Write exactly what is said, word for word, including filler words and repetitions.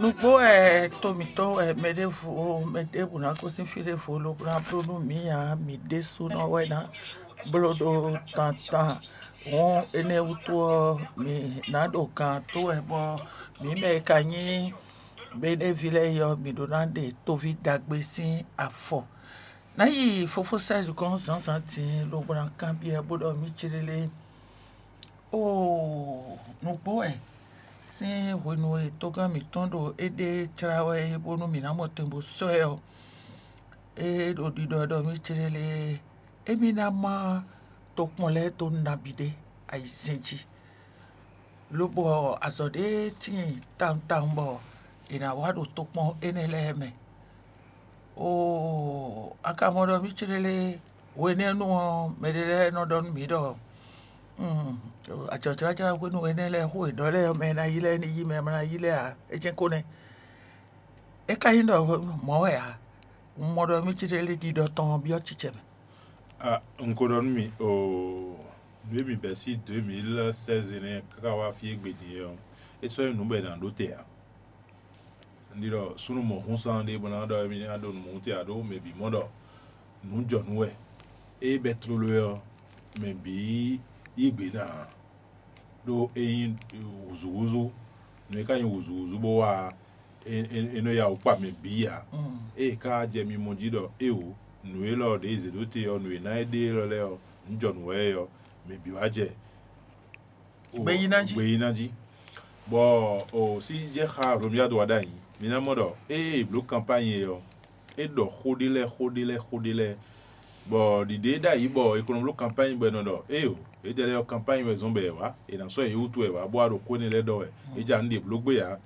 Nǔgbó wɛ to mǐtɔn wɛ mɛ ɖěvo mɛ ɖěbǔ ná gosín fí ɖěvo lobo ná bló nú mǐ ǎ, mǐ ɖésúnɔ wɛ ná bló ɖó tantan. Hǔn énɛ́ wútu ɔ́, mǐ ná ɖo gan tó wɛ bɔ mǐ mɛ e ka nyí Beɖévi lɛ́ɛ é ɔ́, mǐ ɖó ná ɖe tóví ɖagbe sín afɔ. Ná yi fofó sɛ́zi gɔ́n zǎnzǎn din lobo ná kanbyɔ́ bó ɖɔ mǐ céɖélé. Oo, nǔgbó wɛ sín hwenu e togán mǐtɔn ɖo éɖée jlá wɛ é bónú mǐ ná mɔ tɛn bó sɔ́ ɛ ɔ́, é ɖo ɖiɖɔ ɖɔ mì céɖélé, émí ná má tokpɔn lɛ́ɛ dó nabí ɖé ayizɛ́n jí, lobo azɔ̌ ɖé tíin tawun tawun bɔ è nǎ wá ɖo tokpɔn énɛ́ lɛ́ɛ mɛ. Oo, a ka mɔ ɖɔ mǐ céɖélé hwenɛ́nu ɔ́, mɛɖé lɛ́ɛ nɔ ɖɔ nú mǐ ɖɔ ajɔ̌jlájlá hwenu énɛ́ lɛ́ɛ xó e ɖɔ lɛ́ɛ ɔ́, mɛ e ná yí lɛ́ɛ ní yí, mɛ e ma ná yí lɛ́ɛ ǎ, é jɛ́n ko nɛ́. É ka nyí ɖɔ mɔ̌ wɛ ǎ. Un mɔ ɖɔ mí céɖélé ɖiɖɔ tɔn ɔ́ byɔ́ cicɛ mɛ. Un ko ɖɔ nú mi oo, nǔ e mi bɛ̌ sí deux mille seize nɛ́ káká wá fí e gbe din é ɔ́, é sɔ́ nyí nǔ bɔ è nǎ ɖó te ǎ. Un ɖi ɖɔ súnnu mɔ̌húnsán ɖé bɔ ná ɖɔ émí ná ɖo nǔ mɔ̌hún te ǎ ɖó mɛ bǐ mɔ ɖɔ nǔ jɔ nǔ wɛ. Ée bɛ́ tlóló ɔ́, mɛ bǐ yí gbe ná ǎ. Ɖó é nyí wǔzúwúzú, nǔ e ka nyí wǔzúwúzú bó wá ɔ́, é nɔ ya wǔ kpa mɛ bǐ ǎ. Ée ka jɛ mimɔ jí ɖɔ éeǒ, nǔ élɔ́ ɖě zě ɖó te ɔ́, nǔ e ná é ɖe élɔ́ lɛ́ɛ ɔ́, nǔ jɔ nǔ wɛ é ɔ́, mɛ bǐ wá jɛ Gbeyíná jí. Gbeyíná jí. Bɔ o sí jɛ xa Romuald wa ɖ'ayǐ. Mi ná mɔ ɖɔ ée è blǒ kanpányi é ɔ́, é ɖɔ xó ɖé lɛ́ɛ xó ɖé lɛ́ɛ xó ɖé lɛ́ɛ. Bɔ ɖiɖe ɖ'ayǐ bɔ è ko nɔ bló kanpányi bɔ è nɔ ɖɔ éeǒ, édɛɛ lɛ́ɛ ɔ́ kanpányi wɛ zɔ́n bɔ è wǎ, è nǎ sɔ́ yě wútu wɛ wǎ bó wá ɖo xó énɛ́ lɛ́ɛ ɖɔ wɛ. É ja nǔ ɖě bló gbé ǎ.